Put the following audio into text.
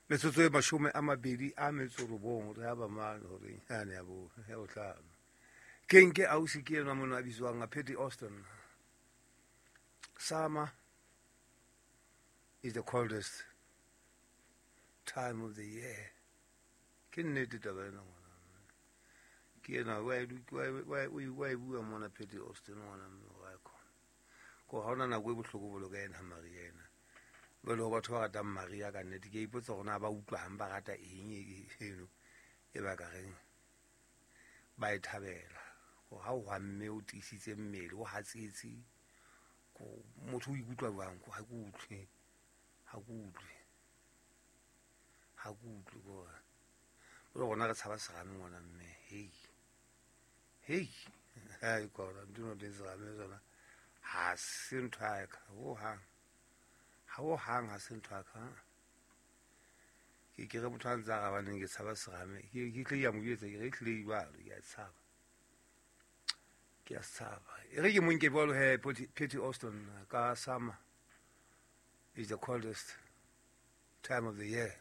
Metsotso e 29 re ba mane horeng yane ya bo ya bohlano. Ke nke ausi ke enwa mona a bitswang a Patty Austin. Summer is the coldest time of the year. Ke nnete taba ena ngwana. Ke ena wa e bua mona Patty Austin ngwana mme wa e khona. Ko ha ona nako e bohloko bolo ka ena Maria ena. Jwale ho batho ba ratang Maria ka nnete ke a ipotsa hore na ba utlwang ba rata eng eno e ba ka reng ba e thabela. Ko ha o hwamme o tiisitse mmele o hatsetse ko motho o ikutlwa jwang ko ha ke utlwe ha ke utlwe ha ke utlwe ko jwale rona re tshaba serame ngwana mme hei hei hai kona ntho eno teng serame sona ha se ntho ya ka hohang ha hohang ha se ntho ya ka. Ke re motho a ntse a rabaneng ke tshaba serame ke tle ya mo jwetsa ke re ehlile jwalo ke a tshaba ke a tshaba. E re ke mo nke jwalo he Patty Austin ka summer is the coldest time of the year.